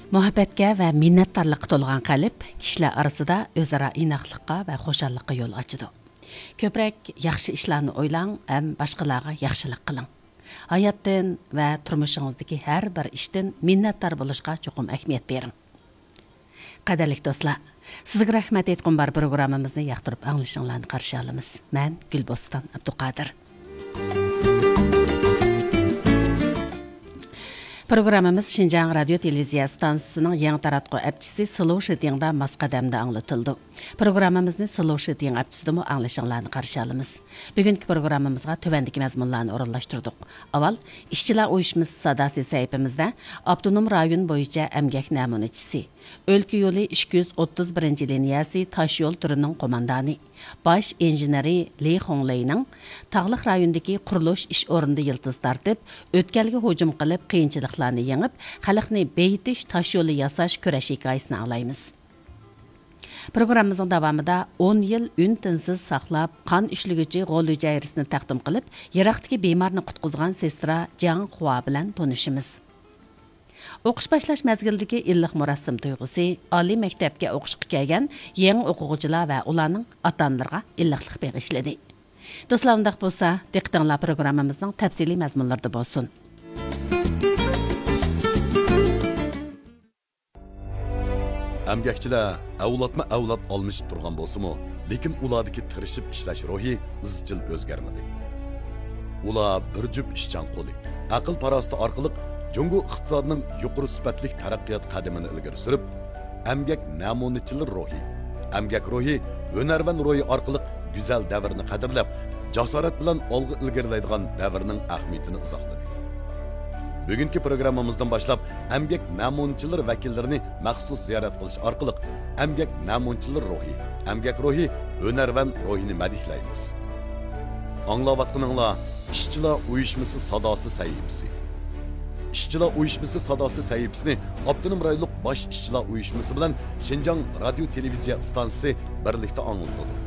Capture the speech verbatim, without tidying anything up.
مۇھەببەتكە ۋە مىننەتدارلىققا تولغان قەلب كىشىلەر ئارىسىدا ئۆزئارا ئىناقلىققا ۋە خۇشاللىققا يول ئاچىدۇ. كۆپرەك ياخشى ئىشلارنى ئويلاڭ ھەم باشقىلارغا ياخشىلىق قىلىڭ. ھاياتتىن ۋە تۇرمۇشىڭىزدىكى ھەر بىر ئىشتىن مىننەتدار بولۇشقا چوقۇم ئەھمىيەت بېرىڭ. قەدىرلىك دوستلار، سىزگە رەھمەت ئېيتقۇم بار پروگراممىمىزنى ياقتۇرۇپ ئاڭلىشىڭلارنى قارشى ئالىمىز. مەن گۈلبوستان ئابدۇقادىر. پروگراممىمىز شىنجاڭ رادىيو تېلېۋىزىيە ئىستانسىسىنىڭ يېڭى تاراتقۇ ئەپچىسى سلوشىتىڭدا ماس قەدەمدە ئاڭلىتىلىدۇ. پروگراممىمىزنى سلوشىتىڭ ئەپچىسىدىمۇ ئاڭلىشىڭلارنى قارشى ئالىمىز. بۈگۈنكى پروگراممىمىزغا تۆۋەندىكى مەزمۇنلارنى ئورۇنلاشتۇردۇق. ئاۋۋال ئىشچىلار ئۇيۇشمىسى ساداسى سەھىپىمىزدە ئاپتونوم رايون بويىچە ئەمگەك نەمۇنىچىسى، ئۆلكە يولى ئىككى يۈز ئوتتۇز بىرىنچى لىنىيەسى تاشيول تۈرىنىڭ قوماندانى، باش ئىنژېنېرى لى خۇڭلېينىڭ تاغلىق رايوندىكى قۇرۇلۇش ئىش ئورنىدا يىلتىز تارتىپ، ئۆتكەلگە ھۇجۇم قىلىپ، قىيىنچىلىقلارنى يېڭىپ، خەلقنى بېيىتىش تاشيولى ياساش كۈرەش ھېكايىسىنى ئاڭلايمىز. پروگراممىمىزنىڭ داۋامىدا ئون يىل ئۈن-تىنسىز ساقلاپ، قان ئۈشلىگۈچى غول ھۈجەيرىسىنى تەقدىم قىلىپ، يىراقتىكى بىمارنى قۇتقۇزغان سېسترا جياڭ خۇا بىلەن تونۇشىمىز. ئوقۇش باشلاش مەزگىلىدىكى ئىللىق مۇراسىم تۇيغۇسى، ئالىي مەكتەپكە ئوقۇشقا كەلگەن يېڭى ئوقۇغۇچىلار ۋە ئۇلارنىڭ ئاتا-ئانىلىرىغا ئىللىقلىق بېغىشلىدى. دوستلار، ئۇنداق بولسا، دىققىتىڭلار پروگراممىمىزنىڭ تەپسىلىي مەزمۇنلىرىدا بولسۇن. ئەمگەكچىلەر ئەۋلادمۇ ئەۋلاد ئالمىشىپ تۇرغان بولسىمۇ، لېكىن ئۇلاردىكى تىرىشىپ ئىشلەش روھى ئىزچىل ئۆزگەرمىدى. ئۇلار بىر جۈپ ئىشچان قولى، ئەقىل-پاراسىتى ئارقىلىق جۇڭگو ئىقتىسادىنىڭ يۇقىرى سۈپەتلىك تەرەققىيات قەدىمىنى ئىلگىرى سۈرۈپ، ئەمگەك نەمۇنىچىلىرى روھى، ئەمگەك روھى، ھۈنەرۋەن روھى ئارقىلىق گۈزەل دەۋرنى قەدىرلەپ، جاسارەت بىلەن ئالغا ئىلگىرىلەيدىغان دەۋرنىڭ ئەھمىيىتىنى ئىزاھلىدى. بۈگۈنكى پروگراممىمىزدىن باشلاپ، ئەمگەك نەمۇنىچىلىرى ۋەكىللىرىنى مەخسۇس زىيارەت قىلىش ئارقىلىق، ئەمگەك نەمۇنىچىلىرى روھى، ئەمگەك روھى، ھۈنەرۋەن روھىنى مەدھىيەلەيمىز. ئاڭلاۋاتقىنىڭلار ئىشچىلار ئۇيۇشمىسى ساداسى سەھىپىسى. ئىشچىلار ئۇيۇشمىسى ساداسى سەھىپىسىنى ئاپتونوم رايونلۇق باش ئىشچىلار ئۇيۇشمىسى بىلەن شىنجاڭ رادىيو تېلېۋىزىيە ئىستانسىسى بىرلىكتە ئاڭلىتىدۇ.